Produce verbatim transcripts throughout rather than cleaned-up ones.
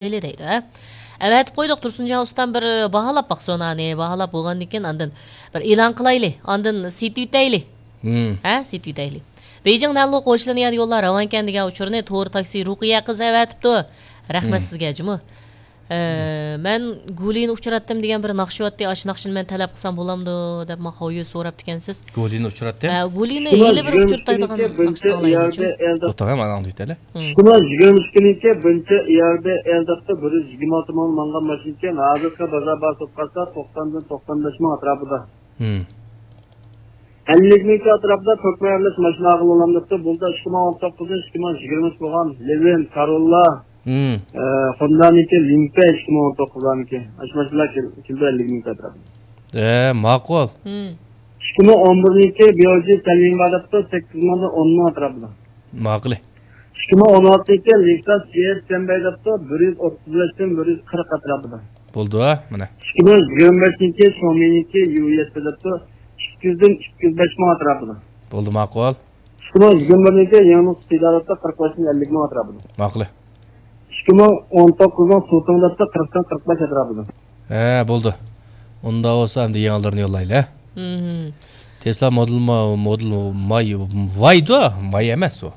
قويايلى دەيدۇ، ھە. ئەۋەتىپ قويدۇق، تۇرسۇنجان ئۇستام بىر باھالاپ باقسۇن ئانى، باھالاپ بولغاندىن كېيىن ئاندىن بىر ئېلان قىلايلى، ئاندىن سېتىۋېتەيلى. ھە، سېتىۋېتەيلى. بېيجىڭ نەنلۇ قوشۇلىنى يەنە يوللار راۋانكەن دېگەن ئۇچۇرنى تور تاكسى رۇقىيە قىز ئەۋەتىپتۇ. رەھمەت سىزگە جۇمۇ. ئە، مەن گۇلىنى ئۇچراتتىم دېگەن بىر ناخشا بارتتى، ئاشۇ ناخشىنى مەن تەلەپ قىلسام بولامدۇ دەپ ماڭا ھويۇ سوراپتىكەنسىز. گۇلىنى ئۇچراتتىم. ئە، گۇلىنى ھېلى بىر ئۇچرىتايدىغان ناخشىنى ئاڭلايلى جۇمۇ. توختاڭ، مانا ئاڭلىتىۋېتەيلى. شۇڭا يىگىرمە ئىككىنچى بىنچە ئىياربە ئەلدەپتە بىر يۈز يىگىرمە ئالتە مىڭ ماڭغان ماشىنىكەن، ھازىرقى بازار باھاسى قارىسا توقساندىن توقسان بەش مىڭ ئەتراپىدا. ئەللىك مىڭ ئەتراپىدا تۆكمە ئېلىش ماشىنا ئاغىلىلامدەپتۇ، بۇلدا ئىككى مىڭ ئون توققۇزدىن ئىككى مىڭ يىگىرمە ئۈچ بولغان لىۋىن، كاروللا، ئە، خوندانىكى لىمپە ئىككى مىڭ ئون توققۇزلارنىكى. ئاشۇ ماشىنىلار كېل-، كېلىدۇ ئەللىك مىڭ ئەتراپىدا. ئە، ماقۇل. ئىككى مىڭ ئون بىرنىڭكى بيوجى تەلۋىڭ بار دەپتۇ، سەككىز مىڭدىن ئون مىڭ ئەتراپىدا. ماقۇل. ئىككى مىڭ ئون ئالتىنچى لېكساس جي ئېس سەنبەي دەپتۇ، بىر يۈز ئوتتۇز بەشتىن بىر يۈز قىرىق ئەتراپىدا. بولدى، مانا. ئىككى مىڭ يىگىرمە بەشىنچى شومىنىڭكى يۇ ئېس دەپتۇ، ئىككى يۈزدىن ئىككى يۈز بەش مىڭ ئەتراپىدا. بولدى، ماقۇل. ئىككى مىڭ يىگىرمە بىرنىڭكى يېڭى نۇسخا سىدارەتتە قىرىق بەشتىن ئەللىك مىڭ ئەتراپىدا. ماقۇل. ئىككى مىڭ ئون توققۇزنىڭ سۇتۇڭ دەپتۇ، قىرىقتىن قىرىق بەش ئەتراپىدا. ھە، بولدى. ئۇنداق بولسا ئەمدى يېڭىلىرىنى يوللايلى، ھە؟ تېسلا مودېل ما-، مودېل ماي، ۋايدۇ، ماي ئەمەس ئۇ.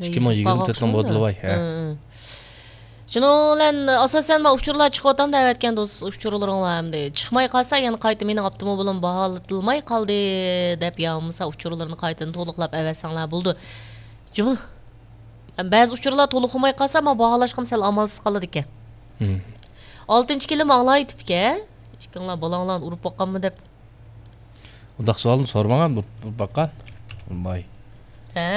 ئىككى مىڭ يىگىرمە تۆتنىڭ مودېلى ۋاي، ھە. شۇنىڭ بىلەن ئاساسەن مانا ئۇچۇرلار چىقىۋاتامدۇ ئەۋەتكەن دوست ئۇچۇرلىرىڭلار ئەمدى. چىقماي قالسا يەنە قايتا مېنىڭ ئاپتوموبىلىم باھالىتىلماي قالدى دەپ يا بولمىسا ئۇچۇرلىرىنى قايتىدىن تولۇقلاپ ئەۋەتسەڭلار بولىدۇ. جۇمۇ. بەزى ئۇچۇرلار تولۇق بولماي قالسا، مانا باھالاشقىمۇ سەل ئامالسىز قالىدىكەن. ئالتىنچى كېلىم ئاڭلايتىپتىكەن. ئىككىڭلار بالاڭلارنى ئۇرۇپ باققانمۇ دەپ. ئۇنداق سوئالنى سورىمىغان بۇ، بۇ باققان. ۋاي. ھە.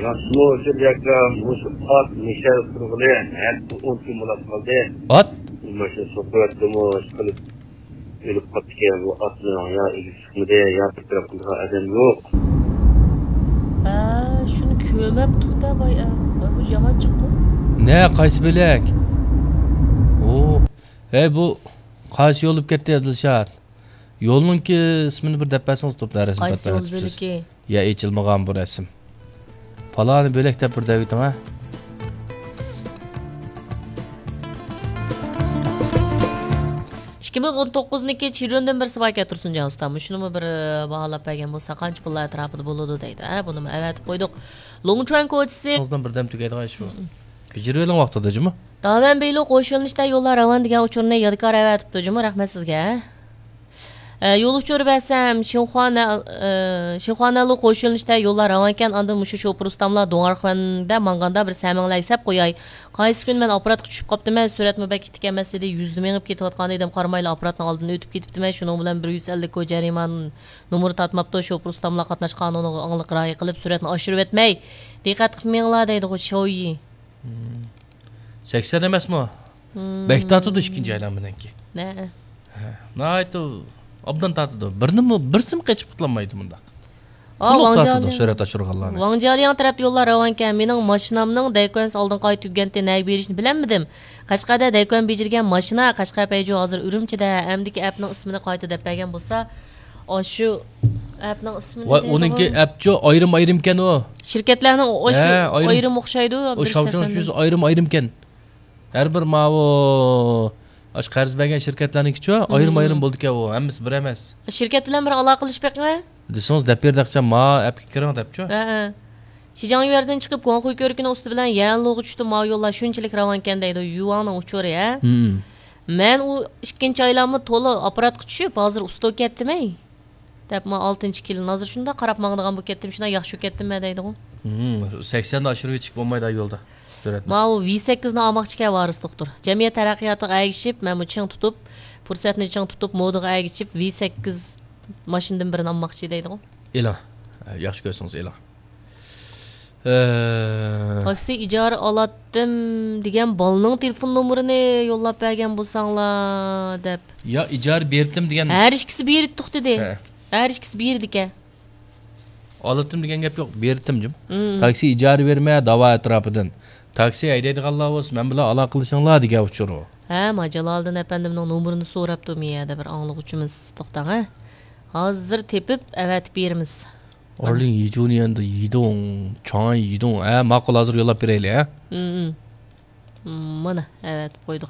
ياخشىمۇ ئۇچۇر ياكا مۇشۇ ئات مىشەل قىلغىلى ھەپتە ئون كۈن بولاپ قالدى. ئات؟ ماشىنا سوقۇۋەتتىمۇ، ئىشقىلىپ ئۆلۈپ قاپتىكەن بۇ ئاتنىڭ يا ئىگىسى چىقمىدى، يا بىر تەرەپ قىلىدىغان ئادەم يوق. ھە، شۇنى كۆرمەپتۇق-دە، باي، ئە، باي، بۇ يامان چىققۇ. نە، قايسى بۆلەك؟ ئۇ، ھەي، بۇ قايسى يول بولۇپ كەتتى، ئابدۇلشات؟ يولنىڭكى ئىسمىنى بىر دەپ بەرسىڭىز، توپتا رەسىم قايسى يول بۆلىكى؟ يا ئېچىلمىغان بۇ رەسىم. پالانى بۆلەك دەپ بىر دەۋېتىڭ، ھە. ئىككى مىڭ ئون توققۇزنىڭكى چىرۇندىن بىرسى باركەن تۇرسۇنجان ئۇستا. مۇشۇنىمۇ بىر، ئى، باھالاپ بەرگەن بولسا قانچە پۇللار ئەتراپىدا بولىدۇ دەيدۇ. ھە، بۇنىمۇ ئەۋەتىپ قويدۇق. لوڭچۈەن كوچىسى. ئاغزىدىن بىردەم تۈگەيدىغان ئىش بۇ. بېجىرىۋېلىڭ ۋاقتىدا جۇمۇ. داۋەن بېيلۇ قوشۇلۇنۇشتا يوللار راۋان دېگەن ئۇچۇرنى يادىكار ئەۋەتىپتۇ جۇمۇ. رەھمەت سىزگە. ئە، يول ئۇچۇرى بەرسەم، شىنخۇانە-، ئە، شىنخۇانەلۇ قوشۇلۇنۇشتا يوللار راۋانكەن، ئاندىن مۇشۇ شوپۇر ئۇستاملار دۇڭئارخۇەندە ماڭغاندا بىر سەمىڭلەر سەپ قوياي. قايسى كۈنى مەن ئاپپاراتقا چۈشۈپ قاپتىمەن، سۈرئەتمۇ بەك ئىتتىك ئەمەس ئىدى، يۈزدە مېڭىپ كېتىۋاتقان ئىدىم، قارىمايلا ئاپپاراتنىڭ ئالدىدىن ئۆتۈپ كېتىپتىمەن، شۇنىڭ بىلەن بىر يۈز ئەللىك كو جەرىمانە نومۇرى تارتماپتۇ، شوپۇر ئۇستاملار قاتناش قانۇنىغا ئاڭلىق رىئايە قىلىپ، سۈرئەتنى ئاشۇرۇۋەتمەي، دىققەت قىلىپ مېڭىڭلار دەيدىغۇ، شويى. سەكسەن ئەمەسمۇ؟ بەك تارتىدۇ ئىككىنچى ئايلانمىنىڭكى. ھە. ھە، ناھايىتى ئوبدان تارتىدۇ. بىرنىمۇ، بىرسىمۇ قېچىپ قۇتۇلمايدۇ مۇنداق. ئا، تولۇق ۋاڭ تارتىدۇ جيالىياڭ. سۈرەت ئاشۇرغانلارنى. ۋاڭ جيالىياڭ تەرەپتە يوللار راۋانكەن. مېنىڭ ماشىنامنىڭ دەيكۈەنسى ئالدىنقى ئاي تۈگىگەنتى، نەگە بېرىشنى بىلەلمىدىم. قەشقەردە دەيكۈەن بېجىرگەن ماشىنا، قەشقەر پەيجۇ ھازىر ئۈرۈمچىدە، ئەمدىكى ئەپنىڭ ئىسمىنى قايتا دەپ بەرگەن بولسا، ئاشۇ ئەپنىڭ ئىسمىنى ۋاي، دەيدىغۇ. ئۇنىڭكى ئەپچۇ ئايرىم-ئايرىمكەن ئۇ. شىركەتلەرنىڭ ئاشۇ ھە، ئايرىم. ئايرىم ئوخشايدۇ، ئۇ بىرسى شاۋچىڭ تەرەپلەندۈرۈش. شۇيىسى ئايرىم-ئايرىمكەن. ھەر بىر ماۋۇ، ئاشۇ قەرز بەرگەن شىركەتلەرنىڭكىچۇ، ئايرىم-ئايرىم بولىدىكەن ئۇ، ھەممىسى بىر ئەمەس. شىركەت بىلەن بىر ئالاقىلىشىپ بېقىڭە. دېسىڭىز دەپ بېرىدىكەن، ما ئەپكە كىرىڭ دەپچۇ. ھە، ھە. شىجاڭ يۈەردىن چىقىپ گۇاڭخۇي كۆۋرۈكىنىڭ ئۈستى بىلەن يەنلۇغا چۈشتى، ماۋۇ يوللار شۇنچىلىك راۋانكەن دەيدۇ، يۈۋاڭنىڭ ئۇچۇرى، ھە؟ مەن ئۇ ئىككىنچى ئايلانما تولا ئاپپاراتقا چۈشۈپ، ھازىر ئۇستا كەتتىم، ھەي. دەپ، ما ئالتىنچى كېلىن ھازىر شۇنداق قاراپ ماڭىدىغان بولۇپ كەتتىم، شۇنداق ياخشى بولۇپ كەتتىم مەن دەيدىغۇ. سەكسەندە ئاشۇرۇۋېتىشكە بولمايدۇ يولدا سۈرئەتنى. ماۋۇ ۋى سەككىزنى ئالماقچىكەن ۋارىس دوختۇر. جەمئىيەت تەرەققىياتىغا ئەگىشىپ، مەنمۇ چىڭ تۇتۇپ، پۇرسەتنى چىڭ تۇتۇپ، مودىغا ئەگىشىپ، ۋى سەككىز ماشىنىدىن بىرىنى ئالماقچى دەيدىغۇ. ئېلىڭ. ياخشى كۆرسىڭىز ئېلىڭ. ئە، تاكسى ئىجارە ئالاتتىم دېگەن بالىنىڭ تېلېفون نومۇرىنى يوللاپ بەرگەن بولساڭلار دەپ. يا ئىجارە بېرىتتىم دېگەن. ھەر ئىككىسى بېرىتتۇق دېدى. ھە. ھەر ئىككىسى بېرىدىكەن. ئالاتتىم دېگەن گەپ يوق، بېرىتتىم جۇم. تاكسى ئىجارە بېرىمەن داۋا ئەتراپىدىن. تاكسى ھەيدەيدىغانلار بولسا مەن بىلەن ئالاقىلىشىڭلار دېگەن ئۇچۇر ئۇ. ھە، ما جالالىدىن ئەپەندىمنىڭ نومۇرىنى سوراپتۇ مۇ يەردە بىر ئاڭلىغۇچىمىز. توختاڭ، ھە. ھازىر تېپىپ ئەۋەتىپ بېرىمىز. ئارلىڭ يىجۇنيەندە يىدۇڭ، چاڭ يىدۇڭ. ھە، ماقۇل، ھازىر يوللاپ بېرەيلى، ھە. مانا، ئەۋەتىپ قويدۇق